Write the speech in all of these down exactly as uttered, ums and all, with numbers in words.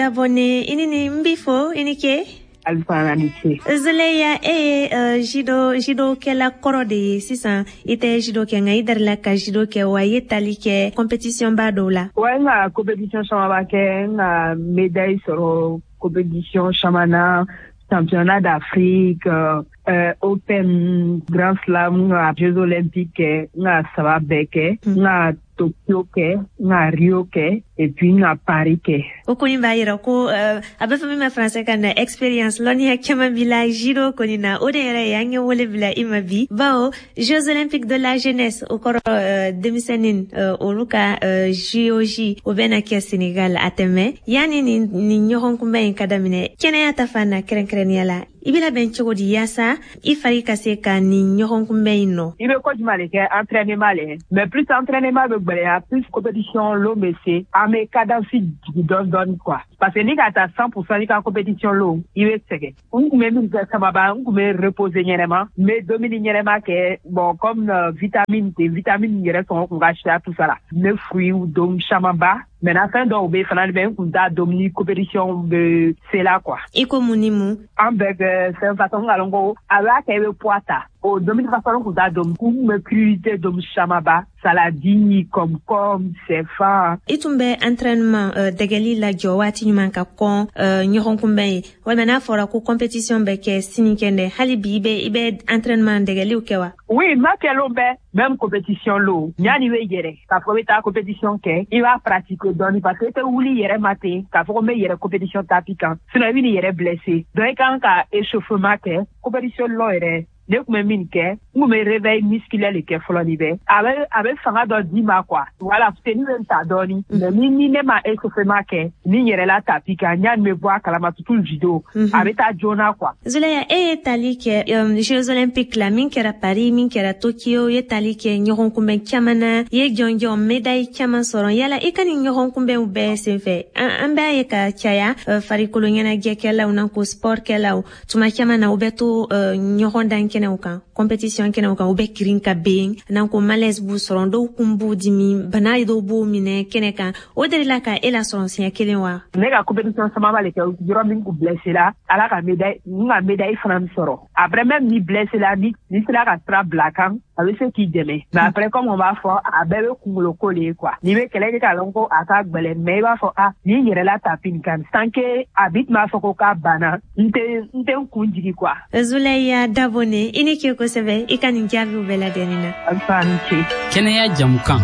Dabone, i ni ni n b'i fo, i ni ke. Alifana ni ce. Zuleya, e ye uh, judo judo kɛla kɔrɔ de ye. Sisan i tɛ judo kɛ, nka i darila ka judo kɛ wa? I ye tali kɛ compétition ba dɔw la. Wa, n ka compétition caman ba kɛ, n ka médaille sɔrɔ compétition caman na, championnat d'Afrique, euh, euh, Open, Grand Slam, n ka Jeux olympiques kɛ, n ka saba bɛɛ kɛ, n ka Tokyo kɛ, n ka Rio kɛ, et puis n ka Paris kɛ. O kɔni b'a yira ko uh, a bɛ fɔ min ma français kan na expérience, lɔnniya caman b'i la judo kɔni na. O de yɛrɛ ye an ye wele bila i ma bi, bawo Jeux olympiques de la jeunesse, o kɔrɔ uh, denmisɛnnin uh, olu ka uh, J O J, o bɛna kɛ Sénégal a tɛmɛ. Yanni nin nin ɲɔgɔn kunbɛn in ka daminɛ, kɛnɛya ta fan na, kɛrɛnkɛrɛnnenya la, i bɛ labɛn cogo di yaasa i fari ka se ka nin ɲɔgɔn kunbɛn in nɔ? I bɛ ko jumɛn de kɛ? Entraînement le. Mais plus entraînement bɛ gwɛlɛya, plus compétition lon bɛ se, an bɛ cadence jigin dɔɔni dɔɔni quoi, parce que ni ka taa cent pour cent i ka compétition lon, i bɛ sɛgɛn. N kun bɛ min kɛ sababa, n kun bɛ reposer ɲɛnɛma, n bɛ dumuni ɲɛnɛma kɛ. Bon, comme euh, vitamine tɛ, vitamine yɛrɛ sɔngɔ kun ka siya, tout ça la, n bɛ fruits dun camanba. Maintenant, fɛn dɔw bɛ fana bɛ, n kun t'a dɔn ni compétition bɛ se la quoi. I ko mun ni mun? An bɛɛ kɛ fɛn façon ka lɔn ko a b'a kɛ i bɛ poids ta, o dumuni façon kun t'a dɔn. Kun bɛ crudité dun camanba, saladi, concombre, sɛfan. I tun bɛ entraînement uh, dɛgɛli lajɔ waati ɲuman ka kɔn uh, ɲɔgɔn kunbɛn ye, walima n'a fɔra ko compétition bɛ kɛ sinikɛnɛ, hali bi i bɛ i bɛ entraînement dɛgɛliw kɛ wa? Oui, ma kɛlon bɛ même compétition lo, ɲani bɛ yɛrɛ k'a fɔ i bɛ taa compétition kɛ, i b'a pratiquer dɔɔni, parce que i tɛ wuli yɛrɛ ma ten k'a fɔ ko n bɛ yɛrɛ compétition tapis kan, sinon i bɛ n'i yɛrɛ blessé. Donc i kan ka échauffement kɛ compétition lɔ yɛrɛ. Ne tun bɛ min kɛ, n kun bɛ réveil musculaire de kɛ fɔlɔ. Ni bɛ a bɛ a bɛ fanga dɔ d'i ma quoi. Voilà, tenue bɛ n ta dɔɔni, mais ni ni ne ma échauffement kɛ ni n yɛrɛ la tapis kan, ɲani bɛ bɔ a kalama, surtout judo, a bɛ taa joona quoi. Zuleya, e ye tali kɛ um, Jeux olympiques la min kɛra Paris, min kɛra Tokyo, i ye tali kɛ ɲɔgɔn kunbɛn caman na, i ye jɔnjɔn médaille caman sɔrɔ. Yala i ka nin ɲɔgɔn kunbɛnw bɛɛ senfɛ, an, an b'a ye ka caya uh, farikolo ɲɛnajɛkɛlaw nan ko sport kɛlaw, tuma caman na u bɛ to uh, ɲɔgɔn dan kɛnɛw kan, compétition kɛnɛw kan, u bɛ kirin ka ben nan ko malaise b'u sɔrɔ, dɔw kun b'u dimi, bana dɔw b'u minɛ kɛnɛ kan. O delila ka e lasɔrɔ siɲɛ kelen wa? Ne ka compétition camanba de kɛ yɔrɔ min kun blessé la, ala ka médaille, n ka médaille fana sɔrɔ. Après, même ni blessé la, ni ni sera ka sira bila kan, a bɛ se k'i dɛmɛ. Mais après, comme on b'a fɔ, a bɛɛ bɛ kunkolo ko de ye quoi. N'i bɛ kɛlɛ kɛ k'a lɔn ko a ka gbɛlɛ, mais i b'a fɔ a ni n yɛrɛ la tapis nin kan, tant que a bi tun b'a fɔ ko k'a banna, n tɛ n tɛ n kun jigi quoi. Zuleya Dabone, i ni ce kosɛbɛ i ka nin jaabiw bɛɛ lajɛlen na. Alfa, ni ce. Kɛnɛya jamukan.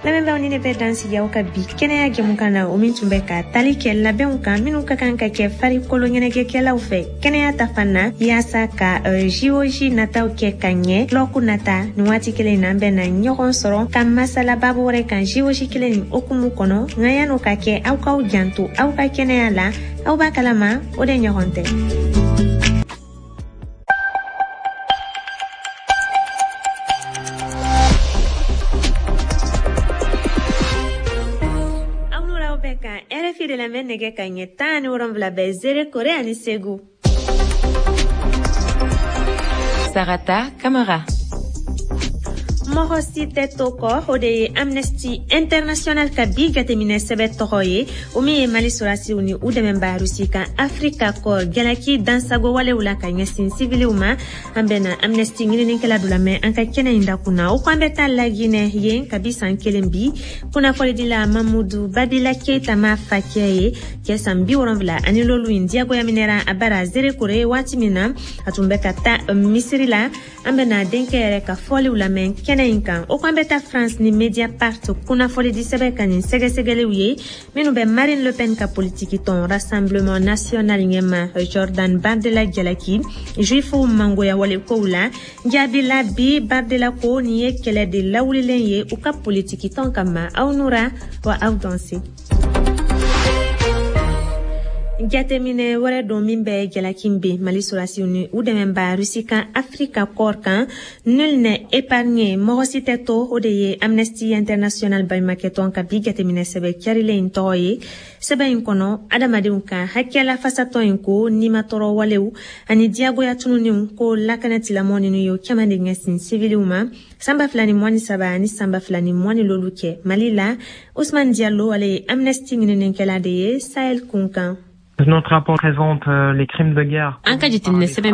Lamɛnbaaw, ni ne bɛ dan sigi aw ka bi kɛnɛya jamukan na, o min tun bɛ ka tali kɛ labɛnw kan minnu ka kan ka kɛ farikolo ɲɛnajɛkɛlaw fɛ kɛnɛya ta fan na, yaasa ka uh, J O J nataw kɛ ka ɲɛ lɔku nata. Nin waati kelen na, an bɛ na ɲɔgɔn sɔrɔ ka masala babu wɛrɛ kan J O J kelen nin hokumu kɔnɔ. Nka yan'o ka kɛ, aw k'aw janto aw ka kɛnɛya la, aw b'a kalama o de ɲɔgɔn tɛ. Aw n'o bɛ kan R F I de lamɛn, nɛgɛ ka ɲɛ tan ni wolonwula bɛ Zérékoré ani Segu. Sarata Kamara. Mɔgɔ si tɛ to kɔ, o de ye Amnesty International ka bi jateminɛ sɛbɛ tɔgɔ ye, o min ye Mali sɔrɔdasiw ni u dɛmɛba Rusi kan Afrika kɔ jalaki dansago walew la ka ɲɛsin siviliw ma. An bɛna Amnesty ɲininikɛla dɔ lamɛn an ka kɛnɛ in dakun na. O ko an bɛ taa Laginɛ, yen kabi san kelen bi, kunnafonidila Mamudu Babila Keyita ma facɛ ye, cɛ san bi wolonfila ani lolu in diyagoya minɛra a bara Zerekore waati min na a tun bɛ ka taa misiri la. An bɛna denkɛ yɛrɛ ka fɔliw lamɛn kɛnɛ in kan. O ko an bɛ taa France ni Mediapart kunnafonidi sɛbɛn ka nin sɛgɛsɛgɛliw ye minnu bɛ Marine Le Pen ka politiki tɔn Rassemblement National ɲɛma Jordan Bardella jalaki juifuw mangoya wale kow la. Jaabi la bi, Bardella ko nin ye kɛlɛ de lawulilen ye u ka politiki tɔn kama. Aw nura wa aw danse. Jateminɛ wɛrɛ don min bɛ jalaki ben Mali sɔrɔdasiw ni u dɛmɛba Rusi kan Africa Corps kan. Nul n'est épargné, mɔgɔ si tɛ to, o de ye Amnesty International baɲumakɛtɔn ka bi jateminɛ sɛbɛ carilen in tɔgɔ ye. Sɛbɛn in kɔnɔ, adamadenw ka hakɛla fasatɔn in ko nimatɔrɔ walew ani diyagoya tununiw ko lakana tilamɔ ninnu ye caman de ɲɛsin siviliw ma san ba fila ni mugan ni saba ani san ba fila ni mugan ni lolu cɛ Mali la. Usman Diallo, ale ye Amnesty ɲininikɛla de ye Sahel kun kan. Notre rapport présente euh, les crimes de guerre. An ka jateminɛ sɛbɛn.